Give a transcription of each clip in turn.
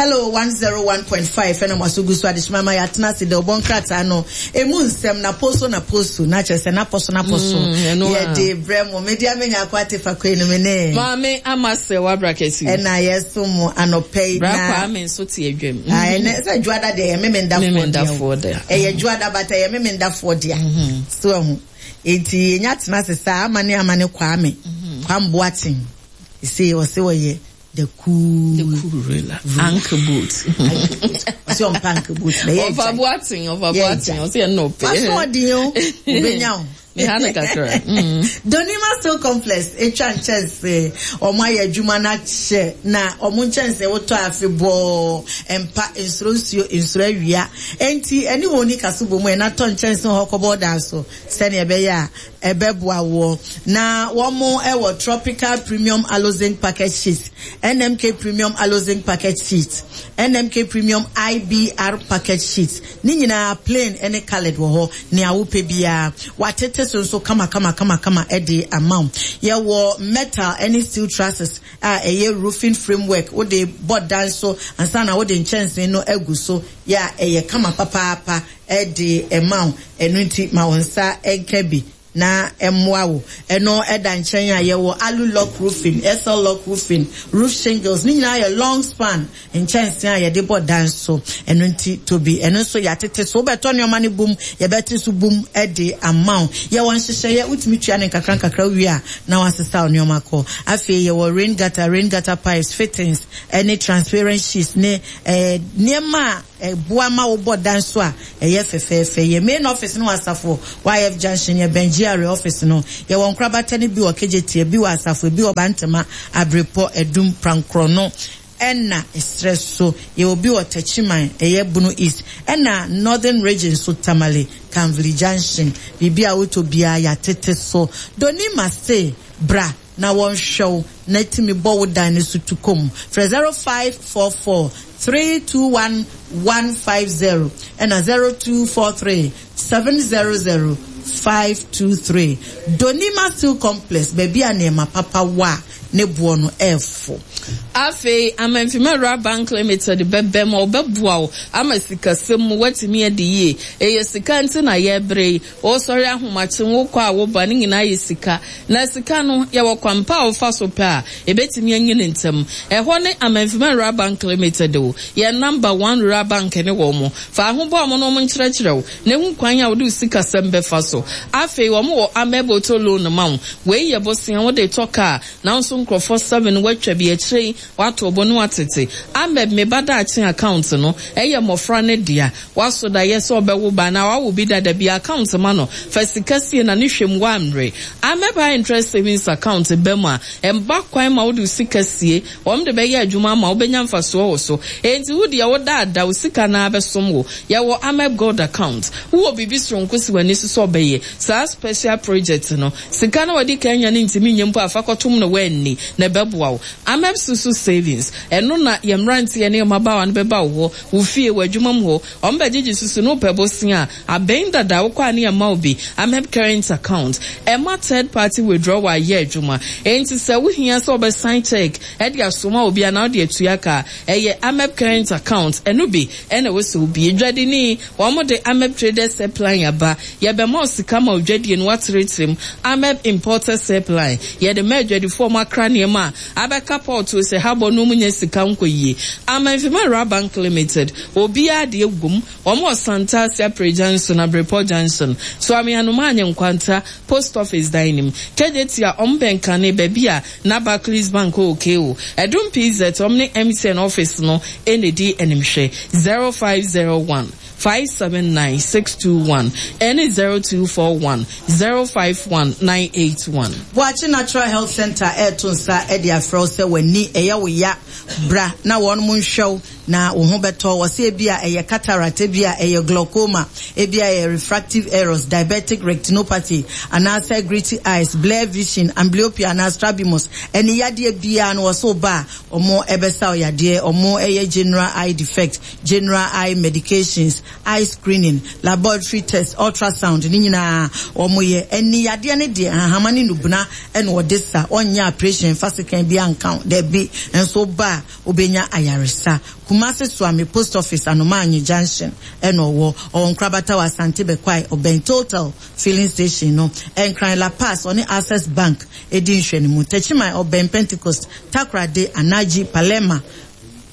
Hello 101.5 ɛna mo aso gu so adehyema ma yɛatena ase dɛ ɔbɔ nkrataa no emu nsɛm na poso na poso na kyerɛ sɛ na pɔso na pɔso mm, yɛde brɛ mo mede amenya akɔ ate fa koi no me ne maame ama sɛ wabra kɛse ɛna yɛso mo anɔpɛ yi na bra kwame nso te adwam ah, ɛnɛ sɛ dwoada deɛ ɛyɛ memendafoɔ deɛ ɛyɛ dwoada bata ɛyɛ memendafoɔ dea mm-hmm. so ɛho enti yɛnya tena ase saa ama ne ama ne kwame mm-hmm. kwamboaten ɛsɛ ɔsɛ wɔyɛ The cool. The cool ruler. Anchor boot. Ɔsɛ ɔmpa anchor boot. Na yɛ Ɔfa boaten, ɔfa boaten, ɔsɛ yɛ nnɔpɛ. Waso ɔden o, obenya o. Me ha no kakra. Mm. Donima Steel Complex atwa nkyɛnse. Wɔn ayɛ adwuma no akyɛ na wɔn nkyɛnse wotɔ afe bɔɔ mpa nsoro nsuo nsoro awia. Enti ɛne wɔn ni kaso bɔ mu ɛna tɔ nkyɛnse hɔ kɔbɔ dan so sɛnea ɛbɛyɛ a ɛbɛboa woɔ. Na wɔn wɔ Tropical Premium Aloe Zinc Packet Sheet, NMK Premium Aloe Zinc Packet Sheet, NMK Premium IBR Packet Sheet. Ne nyinaa plain ne coloured wɔ hɔ, nea wopɛ biara. Wɔatete so nso kamakamakamakama de ama wo. Yɛwɔ metal ne steel trusses a ɛyɛ roofing framework, wode bɔ dan so ansa na wode nkyɛnsee no agu so, yɛ a ɛyɛ kama papaapa de ma wo. Ɛno nti ma wo nsa nka bi na ɛmmoa wo. Ɛno da nkyɛn a, yɛwɔ alu lock roofing, SL lock roofing, roof shingles, ne nyinaa yɛ long span nkyɛnsee a yɛde bɔ dan so. Ɛno nti tɔ bi. Ɛno nso yɛatete so. Wobɛtɔ nneɛma no bum, yɛbɛte so bum de ama wo. Yɛwɔ nhyehyɛeɛ, wotumi tua no nkakra nkakra wowie a na woasesa wo nneɛma kɔ. Afei yɛwɔ rain gutter, rain gutter pipes, fittings, ne transparent sheets ne eh, nneɛma a Ɛboa ma wobɔ dan so a ɛyɛ fɛfɛɛfɛ. Yɛn main office no wɔ Asafo YF Junction, yɛbɛn GRA office no. Yɛwɔ nkorabata no bi wɔ Kejetia, ebi wɔ Asafo, ebi wɔ Bantama, Abrepɔ, Adum, Prankorɔno ɛna ɛserɛ so. Yɛwɔ bi wɔ Techiman, ɛyɛ Bono East, ɛna Northern Region nso, Tamale, Kanvli Junction. Biribi a wotɔ biara yɛatete so. Donima se bra na wɔnhwɛ wo na tumi bɔ wo dan no so tu kɔ mu. Frɛ 0544 321 150 ɛna 0243 700 523. Donima Steel Complex, baabi a nneɛma papa wɔ a ne boɔ no ɛfo. Afei Amanfima Rural Bank Limited bɛbɛ ma wɔbɛboa wo ama sikasɛm mu woatumi adi yie. Ɛyɛ sika nti na yɛrebrɛ yi. Wosɔre ahomakye, wokɔ a woba, ne nyinaa yɛ sika. Na sika no, yɛwɔ kwan pa a wofa so pɛ a, ebetumi anyin ntɛm. Ɛhɔ ne Amanfima Rural Bank Limited o. Yɛn number one rural bank ne wɔn. Fa ho bɔ wɔn na wɔnkyerɛkyerɛ wo na hu kwan a wode wo sikasɛm bɛfa so. Afei wɔn wɔ Ameb Auto Loan ma wo. Wei yɛ bosea wode tɔ kaa, nanso nkurɔfoɔ seven woatwa bi, akyire yi woato bo na woatete. Ameb Me Ba Daakye Account no yɛ mmɔfra no dea. W'aso da yɛ sɛ ɔbɛwo ba anaa w'awo bi dada bi account ma no fa sika sie na ne hwɛ mu w'ammere. Ameb high interest savings account ba mu a, ɛmba kwan ma wode wo sika sie, wɔn de bɛyɛ adwuma ama wo bɛnya mfasoɔ wɔ so. Enti wo deɛ wo daadaa wo sika no ara bɛsom wo. Yɛwɔ Ameb gold account. Wowɔ biribi soronko si w'ani so sɛ ɔbɛyɛ saa special project no, sika no a w'adi kan anya no ntumi nyɛ mpo a fa kɔtom na w'anni na ɛbɛboa wo. Ameb susu savings, ɛno na yɛn mmeranteɛ ne yɛn mmabaawa no bɛba wo hɔ Wo fie, w'adwuma mu hɔ, wɔn bɛgyegye susu no wopɛ bosea a, abɛn dada wokɔ a ne yɛma wo bi, Ameb current account, ɛma third party withdrawal yɛ adwuma, enti sɛ wohia sɛ wobɛsan check de asoma obi anaa wode atua ka a, ɛyɛ Ameb current account, ɛno bi na ɛwɔ sɛ wobie. Dwadini, wɔn de Ameb traders helpline aba, yɛbɛma wo sika ma wo dwadie no woatrɛtrɛ mu, Ameb importers helpline, yɛde ma adwadifoɔ a wɔakra nneɛma a Abɛka pɔɔto sɛ habɔ no ɔmu nya sika nkɔ yie. Amanfima Rural Bank Limited, obiara deɛ wom, wɔn wɔ Santase Apre Junction, Abrepɔ Junction, Suame Anomaanye Nkwanta, Post Office dan no mu. Kejetia, wɔn bɛn Kane, baabi a na Barclays Bank wɔ KO. Ɛdom PZ, wɔn ne MTN office no na ɛdi animhwɛ. 0501. 579 621 ɛne 0241 051 981. Boakye Natural Health Centre reto nsa de afrɛ wo sɛ w'ani ɛyɛ wo ya, bra na wɔnom nhwɛ wo na wo ho bɛtɔ wo. Wɔse ebia ɛyɛ cataract, ebia ɛyɛ glaucoma, ebia ɛyɛ refractive errors, diabetic retinopathy, anaasɛ gritty eyes, blur vision, amblyopia anaa strabismus. Ani yadeɛ biara no wɔse wo ba a wɔn bɛsa wo yadeɛ. Wɔn yɛ general eye defect. General eye medications, eye screening, laboratory test, ultrasound ne nyinaa wɔn yɛ. Ani yadeɛ no deɛ nhahama ne nubena na wɔde sa, wɔnyɛ aprehyɛn mfa sekan biara nka ho, dabi, nso woba a wobɛnya ayaresa. Kumasi Suame Post Office Anomaanyi Junction na ɔwɔ. Ɔwɔ Nkorabata wɔ Asante Bɛkwae, ɔbɛn Total Filling Station no. Nkran La Paz, ɔne Access Bank di nhwɛanimu. Techiman, ɔbɛn Pentecost, Takoradi, Anaji, Palerma,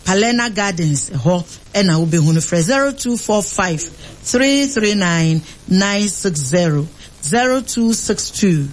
Palerna Gardens hɔ na wobɛhu no. Frɛ 0245 339 960, 0262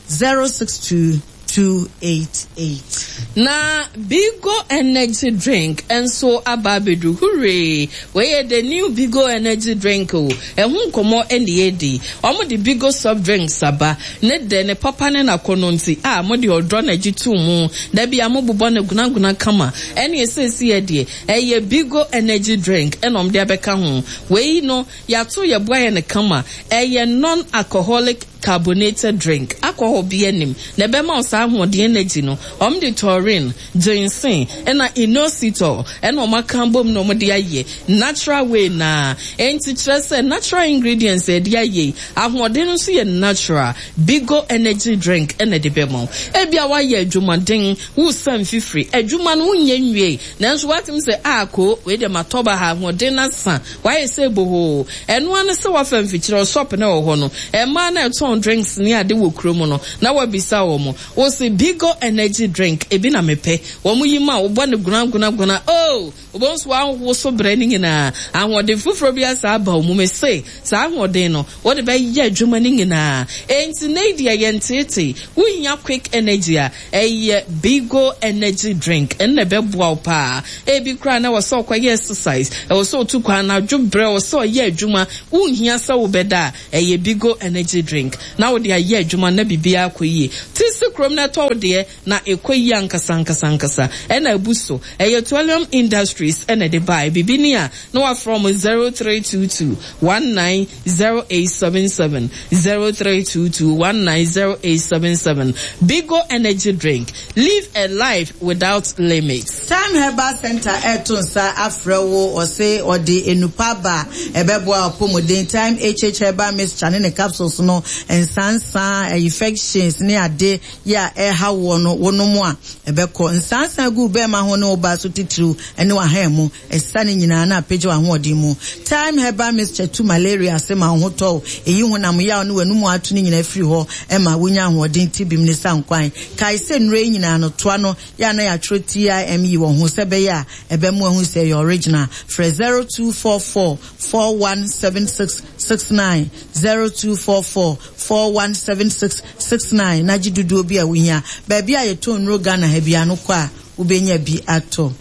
062 288. Na Bigo energy drink nso aba abɛduru. Hurray! Wei yɛ the new Bigo energy drink o. Ɛho nkɔmmɔ na yɛredi. Wɔde Bigo soft drinks aba. Ne dɛ, ne papa ne n'akɔnnɔ nti, a mode ɔdɔ na ɛgye too mu. Da biara mobobɔ no gonagona kama. Ɛnneɛ seesei deɛ, ɛyɛ Bigo energy drink na wɔde abɛka ho. Wei no, yɛato yɛn bo ayɛ no kama. Ɛyɛ non-alcoholic carbonated drink, alcohol biara nnim, na ɛbɛma wo saa ahoɔden energy no. Wɔde taurine, ginseng, ɛna inositol ɛna wɔn aka abom na wɔde ayɛ natural way no ara. Enti kyerɛ sɛ natural ingredients a yɛde ayɛ yi, ahoɔden no nso yɛ natural. Bigo energy drink ɛna ɛde bɛma wo. Ebia woayɛ adwumaden, woresa mfifiri, adwuma no wonyɛ nwiei, nanso woatumi sɛ, ah koo, wei deɛ matɔ baha, ahoɔden no asa. Wayɛ sɛ bohoo. Ɛno ara ne sɛ wafa mfikyire hɔ, shop no a ɛwɔ hɔ no, mmaa no a ɛtɔn drinks ne ade wɔ kurom no, na wabisa wɔn. Wose, Bigo energy drink, ebi na mepɛ. Wɔn yi ma wo, wobɔ no gona-gona-gona, oh! Wobɛhu sɛ woawoso brɛ no nyinaa. Ahoɔden foforɔ bi asan aba wo mu. Mese, saa ahoɔden no, wode bɛyɛ adwuma no nyinaa. Enti nnɛ yi deɛ yɛnteetee. Wohia quick energy a, Ɛyɛ Bigo energy drink, ɛno na ɛbɛboa wo paa. Ebi koraa na ɛwɔ sɛ ɔkɔyɛ exercise, ɛwɔ sɛ ɔtu kwan anadwo berɛ, ɛwɔ sɛ ɔyɛ adwuma, wonhia sɛ wobɛda a, ɛyɛ Bigo energy drink na wode ayɛ adwuma na biribiara akɔ yie. Te si kurom na ɛtɔ wo deɛ na ɛkɔ yie ankasa ankasa ankasa. Ɛna abu so. Ɛyɛ Twellium Industries na ɛde baeɛ. Biribi ni a na wafrɛ wɔn 0322 19 0877 0322 190877 Bigo Energy Drink, Live a life without limits. Time Herbal Centre reto nsa afrɛ wo, ɔse ɔde nnupa aba a ɛbɛboa w'apɔmuden. Time HH Herbal Mixture ne ne capsules no, nsansa, infections ne ade yɛ a ɛrehaw woɔ no, wonom a, ɛbɛkɔ. Nsansa gu wo bɛɛma ho ne wo baa so titiriw ne w'ahan mu. Asiane nyinaa na apagya w'ahoɔden mu. Thyme herbal mixture tu malaria ase ma wo ho tɔ wo, eyi honam yaw ne w'anomu ato no nyinaa firi hɔ ma wunya ahoɔden tibim ne sankwan. Kae sɛ nnuro yi nyinaa no, toa no yɛ a na yɛatwerɛ TIME wɔ ho sɛ ɛbɛyɛ a ɛbɛma woahu sɛ ɛyɛ original. Frɛ 0244 417669, 0244 417669 na gye dodoɔ bi a wuhia. Baabi a yɛtɔn nnuro Ghana ha biara no kɔ a wobɛnya bi atɔ.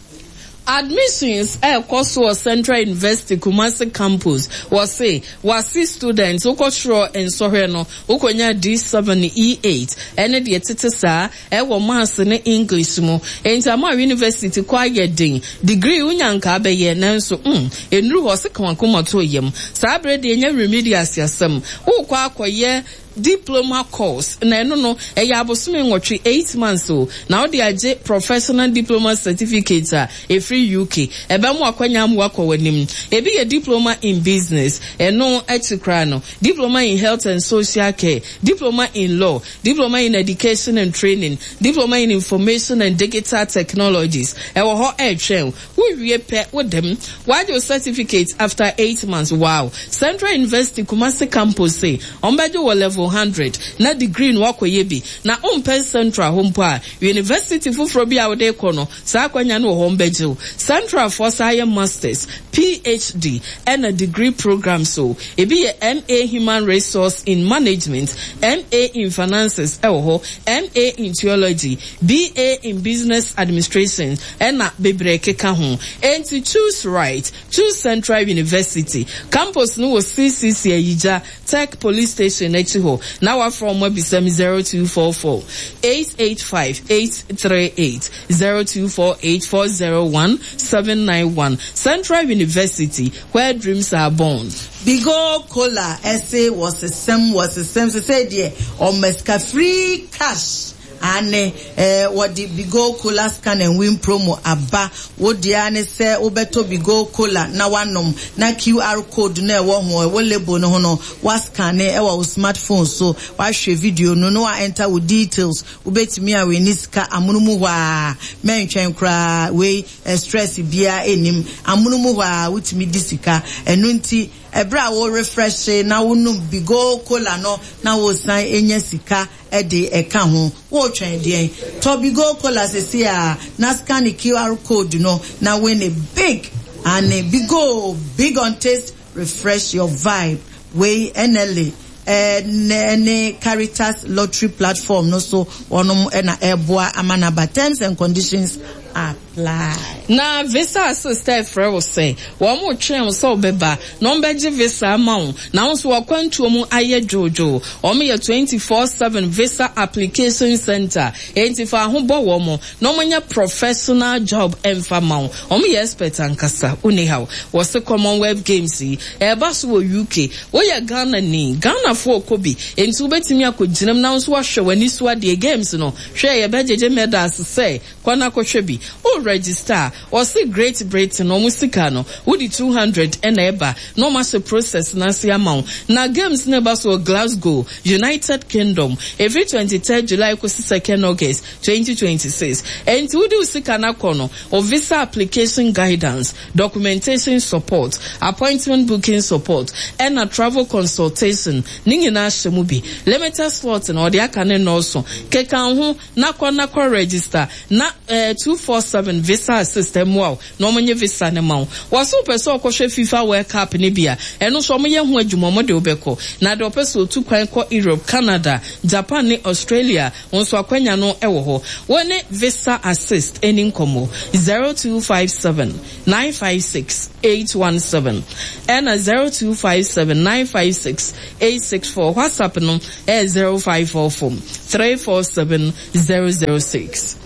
Admissions ɛrekɔ so wɔ Central University Kumasi Campus. Wɔse w'ase students wokɔ twerɛ nsɔhwɛ no wokɔnya D7, E8 ɛne deɛ ɛtete saa ɛwɔ Maths ne English mu. Enti ama University kɔ ayɛ den. Degree wonya nka abɛyɛ nanso mm ɛnnuru hɔ. Ɔse ka w'akoma to yam. Saa berɛ deɛ ɛnyɛ remedials asɛm. Wokɔ akɔyɛ Diploma course, na ɛno no, ɛyɛ abosome nwɔtwe, eight months o, na wode agye Professional Diploma Certificate a ɛfiri UK. Ɛbɛma w'akwanya ama woakɔ w'anim. Ebi yɛ Diploma in Business, ɛno akyi koraa no, Diploma in Health and Social Care, Diploma in Law, Diploma in Education and Training, Diploma in Information and Digital Technologies. Ɛwɔ hɔ ɛretwɛn wo. Wo wie pɛ wo dɛm. W'agye wo certificate after 8 months wow. Central University Kumasi campus se wɔn bɛgye wo wɔ level 100 na degree no w'akɔ yɛ bi. Na wo mpɛ Central hɔ mpo a, University foforɔ bi a wode rekɔ no saa akwanya no wɔ hɔ wɔn bɛgye wo. Central foɔ saa yɛ masters, PhD ɛna degree programs o. Ebi yɛ MA Human Resource in Management, MA in Finances ɛwɔ hɔ, MA in Theology, BA in Business Administration ɛna bebree keka ho. Enti choose right, choose Central University. Campus no wɔ CCC Ayigya, Tech Police Station akyi hɔ. Na wafrɛ wɔn abisa me 0244 885 838, 0248 401 791. Central University, where dreams are born. Bigo Cola ɛse wɔsesem wɔsesem sesei deɛ ɔma sika free cash. Aane, eh, wɔde Bigo Cola Scan and Win Promo aba. Wo deɛ ara ne sɛ wobɛtɔ Bigo Cola na woanom, na QR code no a ɛwɔ ho, ɛwɔ label no ho no, woascanne wɔ wo smartphone so, woahwɛ video no na woa-enter wo details. Wobɛtumi awini sika amono mu hɔ ara, mɛntwɛn koraa, wei eh, stress biara nnim. Amono mu hɔ ara wotumi di sika. Ɛno nti, ɛberɛ a wo-refreshe na wonom Bigo Cola no na woresan nya sika de ɛka ho. Woretwɛn deɛn? Tɔ Bigo Cola seesei ara na scanne QR code no na win big! Aane, Bigo, big on taste, refresh your vibe. Wei NLA ne Caritas Lottery Platform no so wɔnom na ɛreboa ama no aba. Terms and conditions apply. Na Visa Assist refrɛ wo sɛ wɔretwɛn wo sɛ wobɛba na wɔbɛgye visa ama wo na wo nso w'akwantuo mu ayɛ dwoodwoo. Wɔyɛ 24/7 visa application center, enti fa ho bɔ wɔn na wɔnyɛ professional job mfa mma wo. Wɔyɛ expert ankasa, wonni haw. Wɔse Commonwealth Games yi, ɛreba so wɔ UK. Woyɛ Ghanani, Ghanafoɔ rekɔ bi, enti wobɛtumi akɔgyina mu na wo nso woahwɛ w'ani so adeɛ. Games no, hwɛ, yɛbɛgyegye medals sɛ Kɔ na kɔhwɛ bi. Wo register a, wɔse Great Britain wɔn sika no, wode 200 na ɛba na wɔn ahyɛ process no ase ama wo. Na games no ɛba so wɔ Glasgow, United Kingdom, ɛfiri 23rd July kɔsi 2nd August 2026. Ɛnti wode wo sika no akɔ no, wo visa application guidance, documentation support, appointment booking support, ɛna travel consultation ne nyinaa hyɛ mu bi. Limited slot na wɔde aka no nnɔɔso. Keka wo ho. Na kɔ na kɔ register na eh 247 visa assist mmoa wo na wɔn nye visa no ma wo. Wɔse wopɛ sɛ ɔkɔhwɛ FIFA world cup no bi a, ɛno nso wɔn yɛ ho adwuma wɔn de wo bɛkɔ. Na deɛ ɔpɛ sɛ ɔtu kwan kɔ Europe, Canada, Japan ne Australia wo nso akwanya no wɔ hɔ. Wo ne visa assist ɛni nkɔmmɔ 0257 956 817 ɛna 0257 956 864. WhatsApp no ɛyɛ 0544 347 006.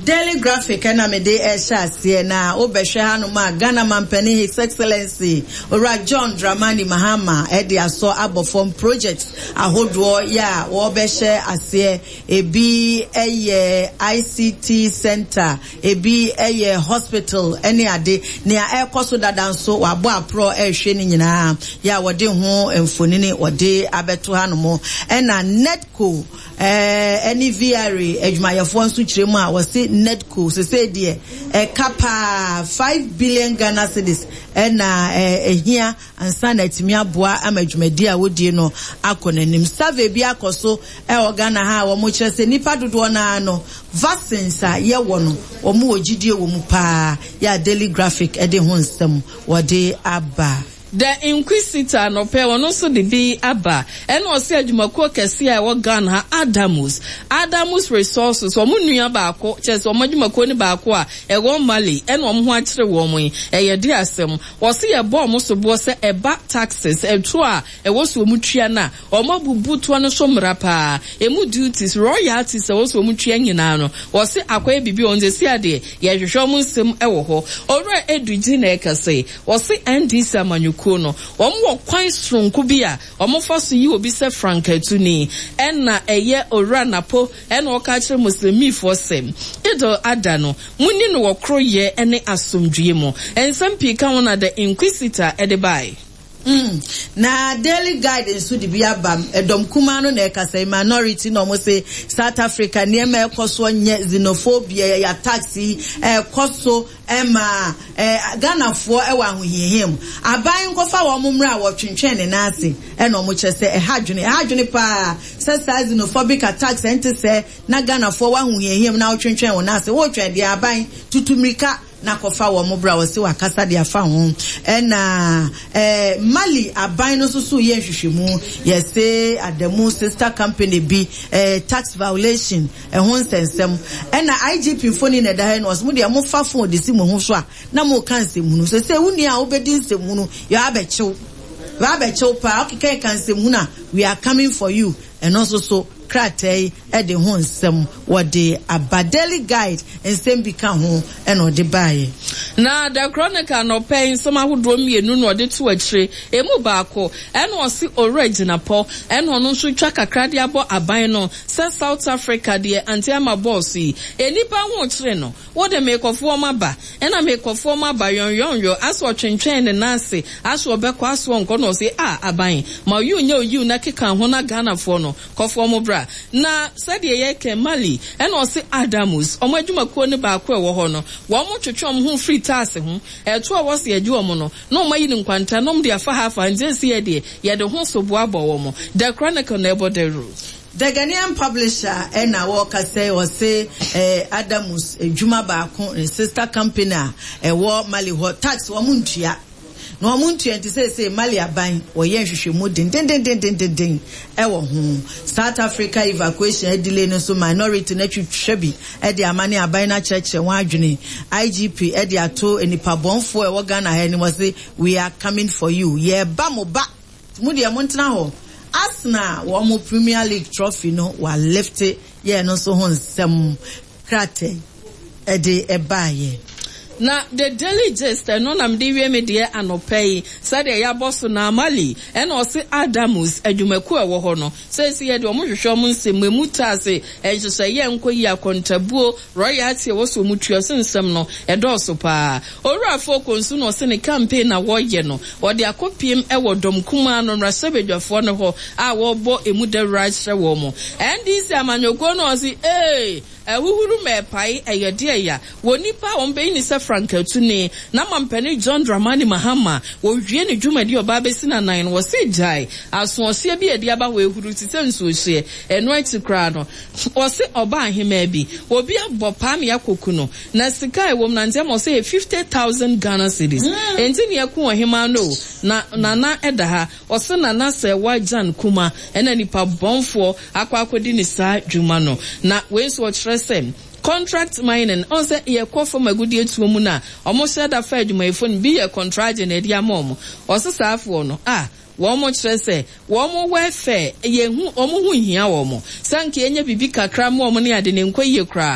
Daily Graphic na mede rehyɛ aseɛ na wobɛhwɛ hanom a Ghana Mampanin His Excellency Owura John Dramani Mahama de asɔ abɔ fam projects ahodoɔ yɛ a wɔrebɛhyɛ aseɛ. Ebi yɛ ICT center, ebi yɛ hospital ne ade. Nea ɛrekɔ so dada nso wɔabɔ aporɔ rehwɛ ne nyinaa yɛ a wɔde ho mfonini wɔde abɛto hanom. Ɛna NEDCO ɛne VRA adwumayɛfoɔ nso kyerɛ mu a wɔse NEDCO sesei deɛ ɛka paa 5 billion Ghana cedis ɛna ɛhia ansa na atumi aboa ama dwumadi a wodie no akɔ n'anim. Survey bi akɔ so wɔ Ghana ha a wɔkyerɛ sɛ nnipa dodoɔ no ara no, vaccines a yɛwɔ no, wɔn wɔ gyidie wɔ mu paa, yɛ a Daily Graphic de ho nsɛm wɔde aba. The Inquisitor anɔpa yi ɔno nso de bi aba. Ɛna ɔse adwumakuo kɛseɛ a ɛwɔ Ghana ha, Adamus, Adamus Resources, wɔn nua baako, kyerɛ sɛ wɔn adwumakuo no baako a ɛwɔ Mali ɛna wɔn ho akyere wɔn yi, ɛyɛ de asɛm. Wɔse yɛbɔ wɔn soboɔ sɛ ɛba taxes, ɛtoɔ a ɛwɔ sɛ wɔn tua no a, wɔn abubu toɔ no so mmara paa. Ɛmu duties, royalties a ɛwɔ sɛ wɔn tua nyinaa no, wɔse akɔyɛ biribi wɔ hɔ nti seesei adeɛ yɛrehwehwɛ wɔn nsam wɔ hɔ. Owura Edudzi na ɛkasa yi. Wɔse NDC amanyɔkuo no, wɔn wɔ kwan soronko bi a wɔn fa so yi obi sɛ frankaatuni. Ɛna ɛyɛ Owura Napo ɛna ɔka akyerɛ Muslimifoɔ sɛ, Idil Adha no, monni no wɔ koroyɛ ne asomdwoeɛ mu. Nsɛm pii ka ho na The Inquisitor de bae. Mm, na Daily Guide nso de bi aba. Ɛdɔm kumaa no na ɛkasa yi, minority na wɔn se South Africa nneɛma ɛkɔ soɔ nyɛ xenophobia, yɛ attacks yi ɛkɔ so ɛma eh, Ghanafoɔ ɛwɔ ahohiahia mu. Aban nkɔfa wɔn mmra a wɔtwentwɛn ne nan ase ɛna wɔn kyerɛ sɛ ɛha adwene, ɛha adwene paa sɛ saa xenophobic attacks ɛnte sɛ na Ghanafoɔ wɔ ahohiahia mu na wotwentwɛn wɔn nan ase. Wotwɛn deɛ aban tutu mmirika na kɔfa wɔn bra wɔse wakasa de afa ho. Ɛna eh, Mali aban no nso so yɛ nhwehwɛmu yɛse Adamu sister company bi eh, tax violation ɛho nsɛnsɛm. Ɛna IGP mfoni na ɛda ha yi no ɔse mo deɛ mofa phone de si mo ho so a na moka nsɛmhunu. Sesei wo nua a wobɛdi nsɛmhunu yɛ abɛkyew yɛ abɛkyew paa wokeka ka nsɛmhunu a we are coming for you. Ɛno nso so krataa yi de ho nsɛm wɔde aba. Daily Guide nsɛm bi ka ho na ɔde baeɛ. Na The Chronicle anɔpa yi nsɛm ahodoɔ mmienu na ɔde to akyire. Emu baako, ɛna ɔse Owura Gyinapɔ ɛna ɔno nso twa kakra de abɔ aban no sɛ South Africa deɛ Auntie Ama bɔɔ so yi, nnipa ho rekyere no. Wo de meekɔfoɔ maba, ɛna meekɔfoɔ maba yɔnyɔnyɔ, asɛ ɔtwentwɛn ne nan ase, asɛ ɔbɛkɔ, asɛ ɔnkɔ, na ɔse ah aban, ma oyiw nyɛ oyiw na keka ho na Ghanafoɔ no, kɔfoɔ mo bra. Na sɛdeɛ yɛkɛ Mali, ɛna ɔse Adamus, wɔn adwumakuo no baako a ɛwɔ hɔ no, wɔn twetwe wɔn ho firi taase ho, ɛtoɔ a wɔse yɛgye wɔn no, na wɔn ayi no nkwanta na wɔn de afa ha afa ha, nti seesei deɛ, yɛde ho soboa bɔ wɔn. The Chronicle na ɛbɔ dawuro. The Ghanaian Publisher na wɔrekasa yi, ɔse eh, Adamus adwuma baako, ne sister company a ɛwɔ Mali hɔ, tax wɔn ntua. Na wɔn ntua nti seesei Mali aban wɔyɛ nhwehwɛmu dendendendendenden wɔ ho. South Africa evacuation adelay no nso minority no atwitwa bi de ama ne aban no akyerɛkyerɛ wɔn adwene. IGP de ato nnipa bɔnfoɔ a ɛwɔ Ghana ha anim, ɔse we are coming for you, yɛreba mo ba. Mo deɛ montena hɔ. Arsenal wɔn Premier League trophy no wa lifte yɛɛ no nso ho nsɛm krataa yi de baeɛ. Na The Daily Gist, ɛno na mede wie me deɛ anɔpa yi, sɛdeɛ yɛabɔ so no ara, Mali, ɛna ɔse Adamus adwumakuo a ɛwɔ hɔ no, seesei yɛ deɛ wɔhwehwɛ wɔn nsɛm mu, ɛmu taase, nhyehyɛeɛ nkɔ yie, akontabuo, Royalty a ɛwɔ sɛ wɔn tua so nsɛm no ɛdɔɔso paa. Owura Afokonsu na ɔse ne campaign a wɔyɛ no ɔde akɔpiem wɔ dɔm kumaa no mmarahyɛbadwafoɔ no hɔ a wɔrebɔ ɛmu dawuro akyerɛ wɔn. NDC amanyɔkuo no ɔse ee ahuhuru ma ɛpae ɛyɛ deɛ ya wɔ nipa a wɔn bɛyi no sɛ frankatuni na mampanin John Dramani Mahama wɔwie ne dwumadi ɔbaa bɛsi n'anan no wɔse gyae asoɔhyeɛ bi a ɛde aba hɔ ɛhuru te sɛ nsuohyeɛ ɛno akyi koraa no Ɔse ɔba ahemaa bi, obi abɔ paa me akɔku no, na sika a ɛwɔ mu no ante ama ɔse ɛyɛ 50,000 Ghana cedis. Enti nea ɛku ɔhemaa no o, na Nana da ha, ɔse Nana sɛ wagyan kuma ɛna nipa bɔnfoɔ akɔ akɔdi ne saa dwuma no. Na wei nso ɔkyerɛ sɛ contract mining, ɔhu sɛ yɛkɔ fam agudeɛ tuo mu no a, ɔmo hyɛ da fa adwumayɛfoɔ no bi yɛ kɔntragye na ɛde ama ɔmo. Ɔse saafoɔ no ah. Wɔn kyerɛ sɛ wɔn welfare yɛ hu, wɔn ho nhia wɔn. Sɛ anka yɛnya biribi kakra ma wɔn ne ade no, ɛnkɔ yie koraa.